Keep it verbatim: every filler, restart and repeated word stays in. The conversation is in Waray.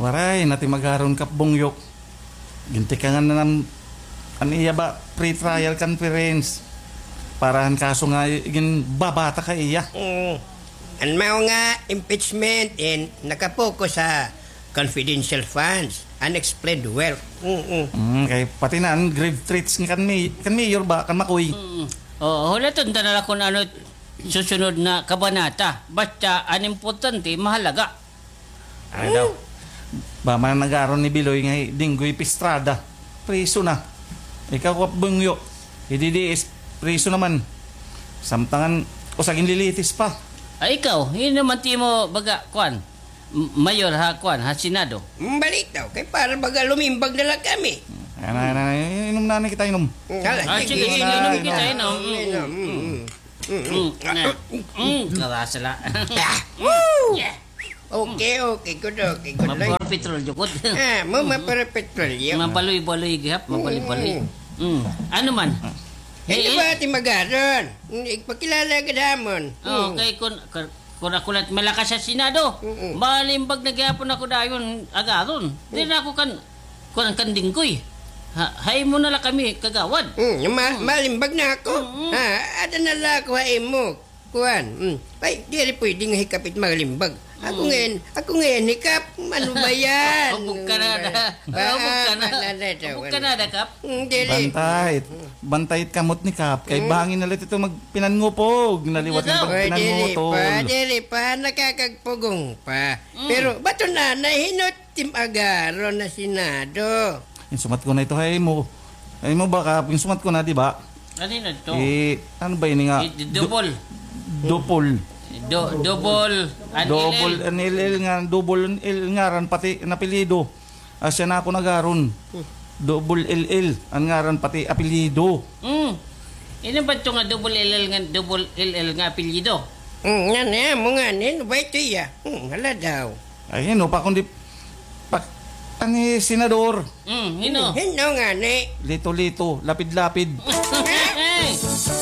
Waray na tim agaron, Kap Bungyo. Gintikangan na nam-, an iya ba, pre-trial conference. Para han kaso nga ginbabata ka iya. Mm. An mao nga impeachment in nakapokus ha confidential funds, unexplained wealth. Mm-mm. Mm, kay pati na an grave threats nga kan mi-, kan mayor ba, kan Makoy. Mm. Oo, hulaton ta na la kon ano susunod na kabanata. Basta an importante, mahalaga. Ano daw? Ba man nag-aaron ni Biloy nga hi Dinggoy Pistrada. Priso na. Ikaw, Kap Bungyo. Hi D D S, priso naman. Samtangan, usa ginlilitis pa. Ay, ikaw, hin-o man it imo baga, kuan, m-, mayor ha, kuan, ha Senado? Mm, balitaw, kay para baga lumimbag na la kami. Ana, ana, inom na, ana kita inom. Mm, hala, Ah, sige, sige, sige, inom, inom inom. kita, inom. Mm, Inom, mm, mm. mm. Mm, na. Mm, karasa la. Ah, woo! Yeah. Okay, okay, good, okay, good. Mapapetrol jud gud. Ah, mo mapapetrol, yo. Mabaloy-baloy gihap, mabaloy-baloy. Mm. Mm. Ano man? Hindi Eh, ba ati magaron? Igpakilala ka damon. Oh, Mm. kay kun, kun, kun ako la it malakas ha Senado. Mm-mm. Malimbag na gihapon ako dayon, agaron. Di na ako kan, kun kan Dinggoy. Ha, ha imo na la kami kagawad. Mm, ma-, Mm. malimbag na ako. Mm-mm. Ha, ada na la ako ha imo. Kuan, mm. Ay, diri pwede nga hi Kap it malimbag. Ako Mm. ngayon, ako ngayon hi Kap. Ano ba yan? Hubog ka na, da. Ba-, Hubog ka na. ba-, na, na, na, Hubog ka na, da, Kap. Mm, diri. Bantay. Bantay it kamot ni Kap. Kay Mm. bangin na la ito magpinangupog. Naliwat Ito. na Oy, diri magpinangutol. pa, diri pa, nakakagpugong pa. Mm. Pero bato na, nahinot tim agaron na Senado. Insumat ko na ito ha imo. Ay mo ba ka, insumat ko na, di ba? Ano yun ito? Eh, ano ba ini nga? Eh, d-, double. Du-, double. Do-, double an Double L L. an L L nga, double an L ngaran pati an apelyido. Asya na ako nagaron. Hmm. Double L L an ngaran pati apelyido. Mm. Ino ba ito nga double L L nga, double L L nga apelyido? Mm, nga na, mo nga ni, ano ba ito iya? Mm, hala daw. Ay, hino pa kundi pa-, ani, senador. Mm, hino? Hino nga ni? Lito-lito, lapid-lapid.